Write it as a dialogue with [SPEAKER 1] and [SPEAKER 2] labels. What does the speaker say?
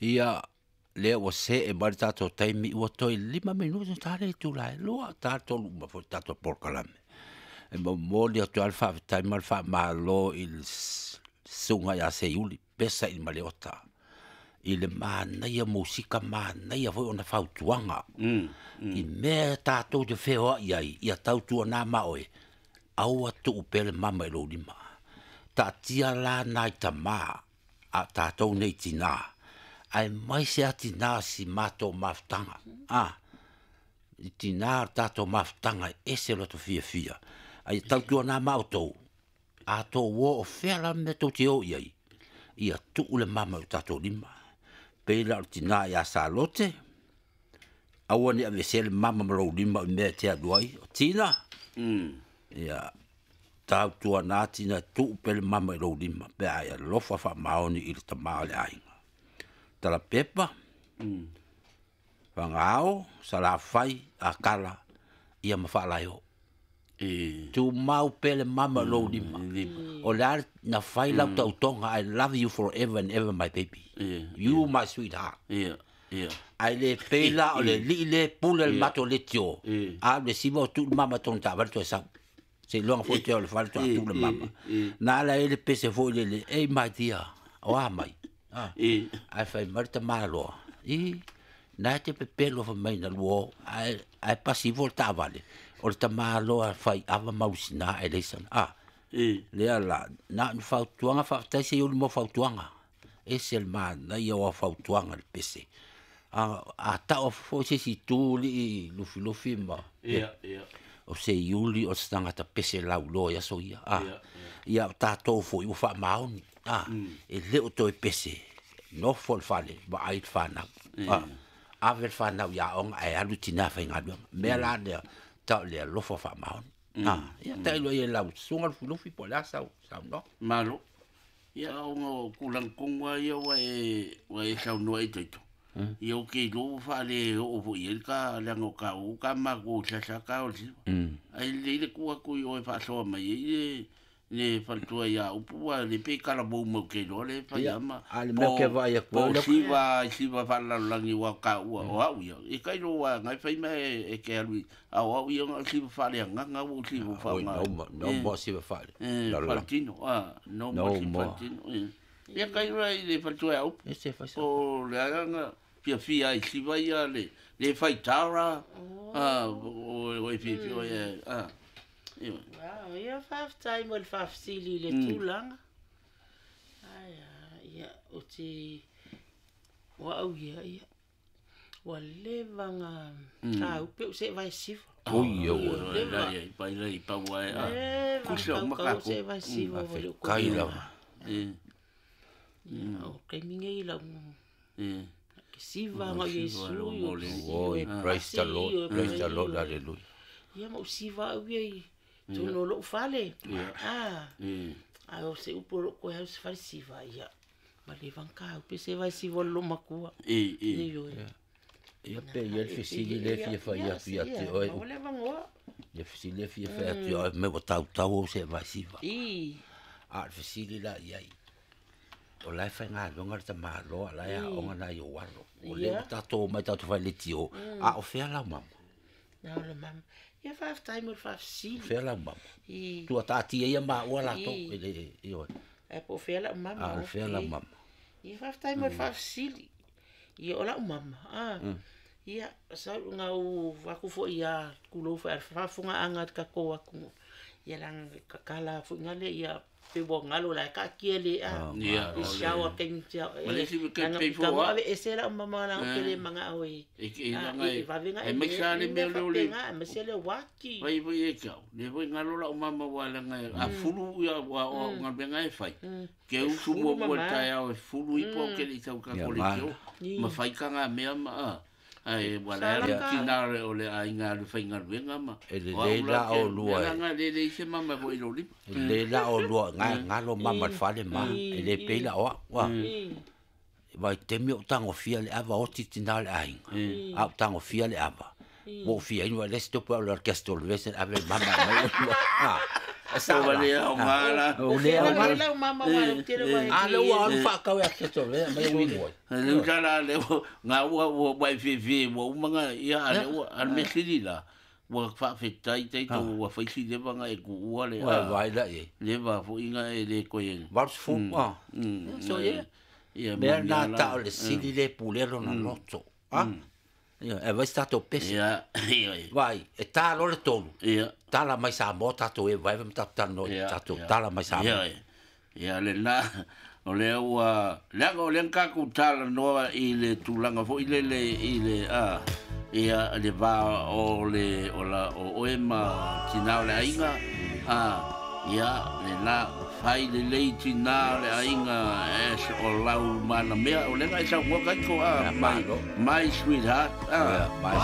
[SPEAKER 1] Ia lea ua see mai le tatou taimi ua toe 5 minute ta le itula e 2 ta 3 uma foi le tatou polokalame. E momoli atu ai le faafetai ma le faamalo i le susuga ia Seiuli Pesa i Maleota i le manaia musika, manaia foi ona fautuaga i mea tatou te feoai ai, ia tautuana ma oe, aua tuu pea le mama i lou lima. Taatia la nai tama a tatou nei tinā, aemaise lava tinā o si matou mafutaga. I tinā o le tatou mafutaga e ese lo latou fiafia. Ae ia tautuana ma outou, a outou o, o fea la le mea tou te o i ai, ia tuu le mama i o tatou lima. Pei la o le tina ia Salote, aua ne i aveesea le mama ma lou lima i mea e te alu ai. O Tina, ia tautuana Tina, tuu pea le mama i lou lima pe a e alofa faamaoni i le tama o le aiga. Talapepa, Fagao, Salafai, Akala, ia ma Faalaeo. Tumau pea le mama i lou lima. O le a na fai lau tautoga, I love you forever and ever my baby. You my sweetheart. Ae le pei la o le alii le pule le matou leitio, a o le siva o tuu le mama i tona taavale toe sau. Seiloga foi te o le fale toe atu le mama. Na ala ai le pese foi lele, ei my dear, o a mai? Ae fai mai le tamaloa, i, na e te pepelo fai mai na luo, ae pasi ifo le taavale, o le tamaloa fai ava maulisina ae leai sana. Lea la, na o ni fautuaga, faafetai Seiuli mo fautuaga. Ese le manaia o fautuaga le pese. A tau foi se isi itu lii Lufilufi ma o Seiuli o se tagata pese lauloa i aso ia. Ia o tatou foi ua faamaoni. E le o toe pese, nofo le fale, vaai le fanau. Ave le fanau i aoga ae alu tina faigaluega. Mea la lea, tau le alofa faamaoni. Ia tailo i e lau susuga Lufilufi po o le a sau saunoaga.
[SPEAKER 2] Malo. Ia ona o tulaga tonu lava ia ua e saunoa ai Taito. Ia ou te iloa ua faale oo foi i ai le ta leaga o taua ta matou i sasa ta o le siva. Ae lelei le tuu atu i o e faasoa mai ai le faletua ia Upu ua le pe talavou mai ou te iloa le fai
[SPEAKER 1] Ia,
[SPEAKER 2] ama.
[SPEAKER 1] a o le mea ou te vaai atu
[SPEAKER 2] Po
[SPEAKER 1] ai,
[SPEAKER 2] o siva i siva faalelalolagi aua o taua o au ia. E tailo aua na e fai ma e te alu i a o au ia na o siva faaleagaga ua ou siva
[SPEAKER 1] Oi,
[SPEAKER 2] faaaoga.
[SPEAKER 1] no more, no more siva faale lalolagi.
[SPEAKER 2] Faletino, no more
[SPEAKER 1] No
[SPEAKER 2] siva
[SPEAKER 1] more.
[SPEAKER 2] faletino. Ia tailo la i le faletua ia Upu.
[SPEAKER 1] E se fai sa.
[SPEAKER 2] Po o le aga fiafia ai siva ia le fai tara, o e fiafia o e, ia.
[SPEAKER 3] Wow, ia faafetai mo le faafesili i le tulaga. Ai, ia, o te o au ia, ia, ua leva na taupe o se vai siva.
[SPEAKER 1] Oi, oi,
[SPEAKER 3] Ua leva.
[SPEAKER 2] Lai, pai, lai, pau ai,
[SPEAKER 3] Leva
[SPEAKER 2] Kusa o
[SPEAKER 3] kaukau
[SPEAKER 2] makako.
[SPEAKER 3] se vai siva o le
[SPEAKER 1] Kai
[SPEAKER 3] koe.
[SPEAKER 1] lava.
[SPEAKER 3] Ia, o kaimi nei lau ke siva ngau
[SPEAKER 2] siva
[SPEAKER 3] Iesu,
[SPEAKER 2] lo
[SPEAKER 3] i o
[SPEAKER 2] mo le.
[SPEAKER 3] si-
[SPEAKER 1] Oi,
[SPEAKER 3] o
[SPEAKER 1] praise the
[SPEAKER 3] pasi,
[SPEAKER 1] Lord,
[SPEAKER 3] o
[SPEAKER 1] praise the Lord,
[SPEAKER 3] pai, o-
[SPEAKER 1] hallelujah.
[SPEAKER 3] Ia ma o siva au ia i tonu o lou fale. A o se upu o lou koe au se fale siva, ia. Ma le vangka au pe se vai siva o le makua. Nei oi.
[SPEAKER 1] Ia pe ia le fesili le fia fai atu ia te oe.
[SPEAKER 3] Ma le vangoa.
[SPEAKER 1] Ia fesili le fia fai atu ia oe, me ua tautau au se vai siva.
[SPEAKER 3] I.
[SPEAKER 1] A o le fesili la i ai. O la e faigaluega le tamaloa, la e aoga nai ou alo. O lea ua tatou omai tatou fai leitio, a o fea lau mama?
[SPEAKER 3] Na o le mama. Ia faafetai mo le faafesili.
[SPEAKER 1] Fea lau mama?
[SPEAKER 3] I.
[SPEAKER 1] Tua taatia ia maua latou i le i oe.
[SPEAKER 3] Ae po o fea lau mama.
[SPEAKER 1] A o le fea lau mama?
[SPEAKER 3] Ia faafetai mo le faafesili. Ia o lau mama. Ia, sau ngau aku foi ia kulou foi al faafofoga anga ka ko aku. Ia langa kakala foi ngale ia pe wa ngalo la ka kia le a.
[SPEAKER 2] Ia,
[SPEAKER 3] I shower keng tia.
[SPEAKER 2] Ma le isi ke
[SPEAKER 3] Langa
[SPEAKER 2] pei
[SPEAKER 3] ka
[SPEAKER 2] fo
[SPEAKER 3] mo ave ese la mama la ke le manga oi.
[SPEAKER 2] E ke
[SPEAKER 3] Ah,
[SPEAKER 2] langa
[SPEAKER 3] e
[SPEAKER 2] e
[SPEAKER 3] vavenga
[SPEAKER 2] e mai sa le mea le o le
[SPEAKER 3] ma se le waki.
[SPEAKER 2] Vai vai e kau. Le foi ngalo la o mama wa langa a fulu ia wa o ngaluega e fai. Ke usu
[SPEAKER 3] fulu
[SPEAKER 2] mo mo
[SPEAKER 3] mama.
[SPEAKER 2] tai au e fulu i po ke le tau ka
[SPEAKER 1] Ia,
[SPEAKER 2] ko le
[SPEAKER 1] mana.
[SPEAKER 2] tio. Ma fai ka ngā mea ma a. Ai wa la
[SPEAKER 3] Sala
[SPEAKER 2] le
[SPEAKER 3] ka.
[SPEAKER 2] tina le o le ai ngā le fai ngaluega ma.
[SPEAKER 1] E lelei la o lua e.
[SPEAKER 2] Langa le le se mama foi lo lima.
[SPEAKER 1] E le la o lua nga ngalo mama le fale ma e le pei la o wa. Vai temi o tangofia le ava o titina le aiga. A o tangofia le ava. Wo fia inu le sto pa le orchestra le vesen ave mama mai. Sa
[SPEAKER 2] O le au ngala.
[SPEAKER 1] O le au
[SPEAKER 3] ngala. Lau mama wa le tele wa.
[SPEAKER 1] A le ua alu whaakau e a keto le, mai ui ngoi.
[SPEAKER 2] Le utala le ngā ua ua wai fe ua umanga ia a le ua a le mesili la. Ua whaafetai tai tau ua whaisi leva nga e ku ua le.
[SPEAKER 1] Ua vai la e.
[SPEAKER 2] Leva fo inga e le koe.
[SPEAKER 1] Valu fu. So ye. Mea nā ta o le sili le pulero na loto. Ia, e vai tātou pese.
[SPEAKER 2] Ia,
[SPEAKER 1] Vai, e tā lo le tolu.
[SPEAKER 2] Ia.
[SPEAKER 1] Tala mai Samoa tātou e vai vai tātou tano tātou tala mai Samoa.
[SPEAKER 2] Ia, ia le na o le ua le o le ka ku tala noa i le tulaga foi le le i le a ia le va o le o la o oe ma tina o le aiga a ia le na fai le lei tina o le aiga e o lau mana mea o le ngai sau ngoka iko a my sweetheart a
[SPEAKER 1] my